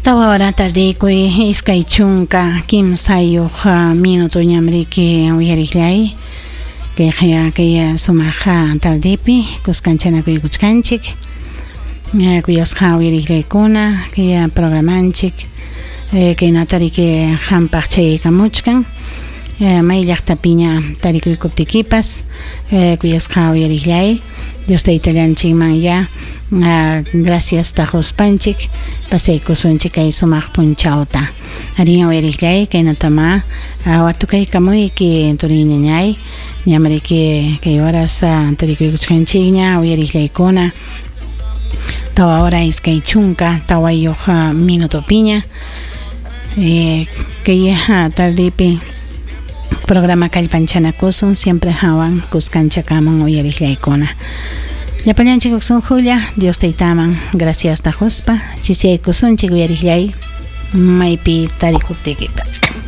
Tawa hora tardikuy 23 minutoñam riki uyariqllay kayqa kay sumaq tardipi kuskanchakuykuchkanchik kuyasqa uyariqllaykuna kay programanchik kaynata riki qampaq chayaykamuchkan may llaqtapiña tarikuykuptikipas kuyasqa uyariqllay Dios taytallanchikman ya gracias taquspanchik pasaykusunchik kay sumaq punchawta. Arin uyariqllay kaynatama watukaykamuyki turiñañay ñamriki kay horas tarikuykuchkanchikña uyariqllaykuna 4 hora 24 minutopiña kay tardipi programa kallpanchanakusun siempre hawan kuskanchakaman uyariqllaykuna. Llapallanchik uqsunqulla Dios taytaman gracias taquspa chisiyaykusunchik uyariqllay maypi tarikuptikipas.